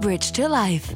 Bridge to Life.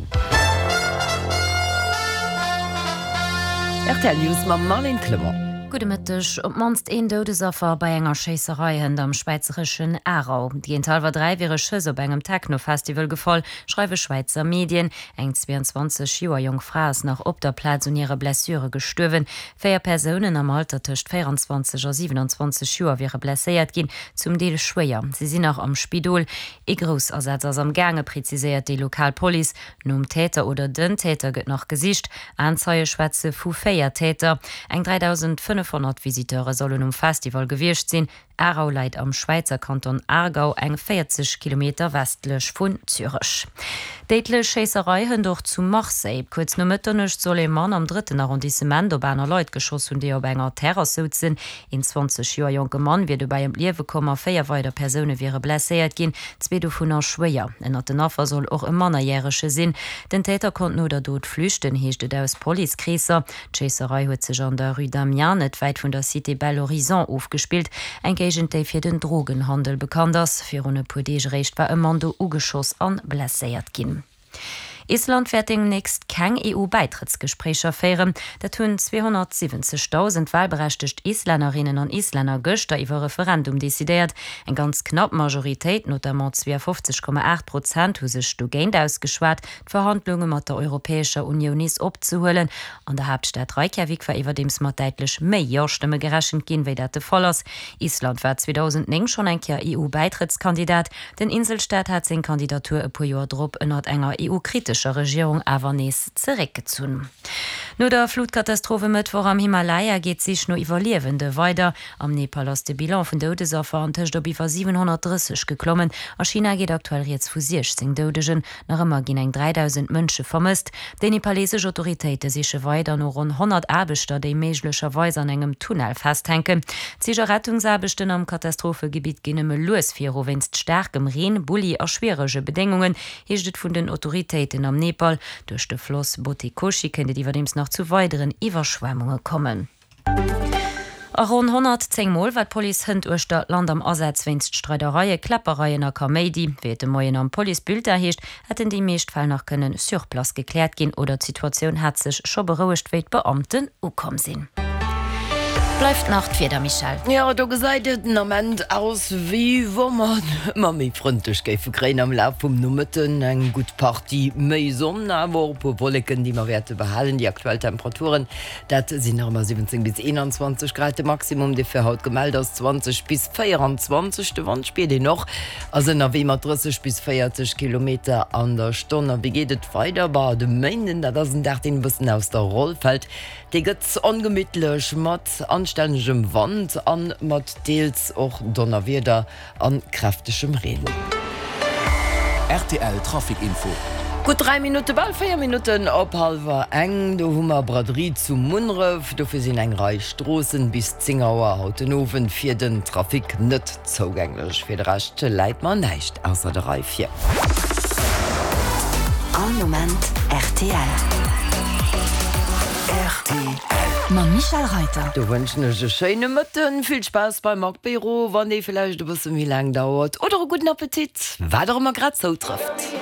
Rtl News mam Marlène Clement. Gudde Mëtteg. Op d'mannst een Doudesaffer bei enger Schéisserei hënt am schwäizereschen Aarau. Géint hallwer 3 wiere Schëss op engem Techno-Festival gefall, schreiwe Schwäizer Medien. Eng 22 Joer jonk Fra ass nach op der Plaz un hire Blessure gestuerwen. Véier Persounen am Alter tëscht 24 a 27 Joer wiere blesséiert ginn, zum Deel schwéier. Si sinn nach am Spidol. Ee Groussasaz ass am gaange, preziséiert déi lokal Police. Nom Täter oder den Täter gëtt nach gesicht. Aenzeie schwätze vu 4 Täter. Eng 3.500 Visiteure sollen um Festival gewiescht sinn. Aarau läit am Schwäizer Kanton Aargau, eng 40 Kilometer westlech vun Zürech. Déidlech Schéisserei hënt och zu Marseille. Kuerz no Mëtternuecht soll ee Mann am drëtten Arrondissement op aner Leit geschoss hunn, déi op enger Terrass souzen. Een 20 Joer jonke Mann wier dobäi ëm d'Liewe komm a 4 weider Persoune wiere blesséiert ginn, zwee dovunner schwéier. Ënnert den Affer soll och e Mannerjärege sinn. Den Täter konnt no der Dot flüchten, heescht et aus Policekreesser. D'Schéisserei huet sech an der Rue d'Amiens, net wäit vun der Cité Bel Horizon, ofgespillt, eng Géigend, déi fir den Drogenhandel bekannt ass. Virun e puer Deeg eréischt war e Mann do ugeschoss an blesséiert ginn. Island wäert deemnächst keng EU-Bäitrëttsgespréicher féieren. Dat hunn 270.000 walberechtegt Islännerinnen an Islänner gëschter iwwer Referendum decidéiert. Eng ganz knapp Majoritéit, notamment 52,8 Prozent, hu sech dogéint ausgeschwat, d'Verhandlunge mat der Europäescher Unioun nees opzehuelen. An der Haaptstad Reykjavik war iwwerdeems mat däitlech méi Jo-Stëmme gerechent ginn, wéi dat de Fall ass. Island war 2009 schonn eng Kéier EU-Bäitrëttskandidat. Den Inselstaat hat seng Kandidatur e puer Joer drop ënnert enger EU-kritescher Regierung awer nees zeréckgezunn. No der Flutkatastroph e Mëttwoch am Himalaya geet d'Sich no Iwwerliewende weider. Am Nepal ass de Bilan vun Doudesaffer antëscht op iwwer 730 geklommen. A China geet aktuell rieds vu 16 Doudegen. Nach ëmmer ginn eng 3.000 Mënsche vermësst. Déi nepalesesch Autoritéite siche weider no ronn 100 Aarbechter, déi méiglecherweis an engem Tunnel festhänken. D'Sich a Rettungsaarbechten am Katastrophegebitt ginn nëmme lues viru wéinst staarkem Reen, Bulli a schwierege Bedéngungen, heescht et vun den Autoritéiten am Nepal. Duerch de Floss Bhote Koshi kéint et iwwerdeems nach zu weideren Iwwerschwemmunge kommen. A ronn 110 Mol war d'Police hënt uechter d'Land am Asaz wéinst Streidereie, Kläppereien a Kaméidi. Wéi et de Moien am Police-Bulletin heescht, hätten déi meescht Fäll nach kënnen sur place gekläert ginn oder d'Situatioun hat sech scho berouegt, wéi d'Beamten ukomm sinn. Bleift nach d'Wieder, Michèle. Jo, do gesäit et den Ament aus, wéi wa mer et ëmmer méi frëndlech géife kréien am Laf vum Nomëtten. Eng gutt Partie méi Sonn, awer och e puer Wolleken, déi mer wäerte behalen. Déi aktuell Temperaturen Dat sinn nach ëmmer 17 bis 21 Grad. De Maximum, dee fir haut gemellt ass, 20 bis 24. De Wand spiert een och, ass ënnerwee mat 30 bis 40 Kilometer an der Stonn. A wéi geet et weider? Bah, de Méinden, dat ass en Dag, deen e bëssen aus der Roll fält. Dee gëtt ongemittlech mat anstännegem Wand a mat deels och Donnerwieder. An kräftegem Reen. Rtl Trafic Info. Gutt 3 Minutte, bal 4 Minutten op hallwer eng, do hu mer Braderie zu Munneref. Dofir sinn eng Rei Stroossen bis 10 Auer haut den Owend fir den Trafic net zougänglech. Fir de Rescht läit mer näischt ausser der Rei vir. All Moment rtl. Rtl. Mam Michel Reiter. Do wënschen ech e schéine Mëtten, vill Spaass beim Apéro, wann dee villäicht e bësse méi laang dauert, oder e gudden Appetit, wat och ëmmer grad zoutrëfft.